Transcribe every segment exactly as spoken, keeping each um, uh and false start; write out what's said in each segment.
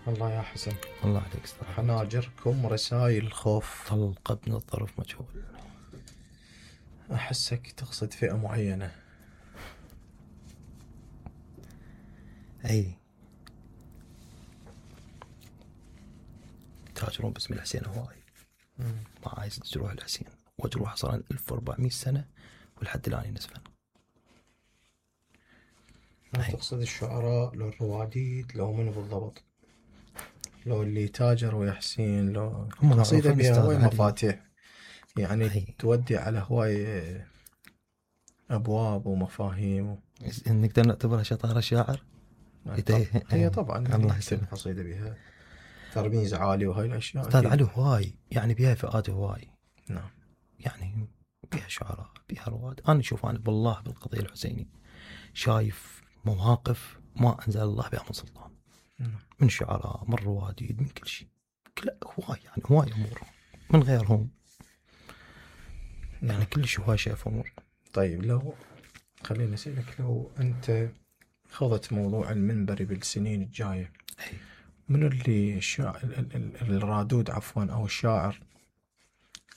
الله يا حسن. الله عليك استاذ. حناجركم رسائل الخوف طلقة من الظرف مجهول. أحسك تقصد فئة معينة. أي تاجرون باسم الحسين هواي. ما عايز جروح الحسين وجروح صار ألف وأربعمية سنة ولحد الآن ينزفن. ما تقصد الشعراء لو الرواديد لو منو بالضبط؟ لو اللي تاجروا يا حسين لو قصيدة بها هواي مفاتيح يعني أي. تودي على هواي أبواب ومفاهيم و... نقدر نعتبرها شطارة شاعر. هي طبعا الله يسلم. قصيدة بها ترميز عالي وهاي الأشياء أستاذ علي هواي يعني بها فئات هواي. نعم يعني بها شعراء بها رواد. أنا أشوف أنا بالله بالقضية الحسيني شايف مواقف ما أنزل الله بها من سلطان. نعم. من شعراء من رواديد من كل شيء كل هواي يعني هواي أمور من غيرهم. نعم. يعني كل شيء هواي شايف أمور. طيب لو خليني أسألك لو أنت خضت موضوع المنبري بالسنين الجاية أي. منو اللي الشاعر الرادود عفوا أو الشاعر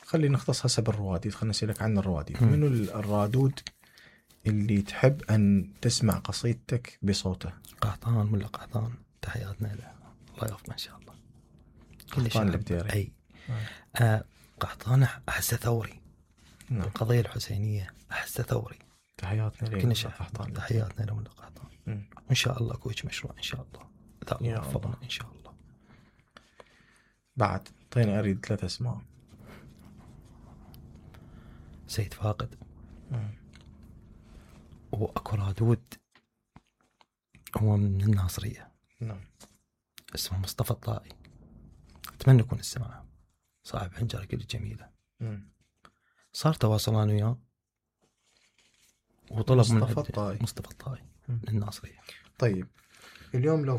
خلينا نختص هسه بالرواديد خلينا نسألك عن الرواديد. منو الرادود اللي تحب أن تسمع قصيدتك بصوته؟ قحطان ولا قحطان تحياتنا له الله يوفقه إن شاء الله. قحطان البديري. أي آه. قحطان أحسه ثوري. نعم. القضية الحسينية أحسه ثوري. تحياتنا له كل شيء قحطان. تحياتنا له من قحطان. إن شاء الله كويش مشروع إن شاء الله إذا الله وفقنا إن شاء الله. بعد طيني أريد ثلاث أسماء. سيد فاقد. مم. وأكو رادود هو من الناصرية. نعم. اسمه مصطفى الطائي. أتمنى يكون السماع صاحب حنجرة كل جميلة. مم. صار تواصلان وياه وطلب مصطفى من الطائي. مصطفى الطائي من الناصرية. طيب اليوم لو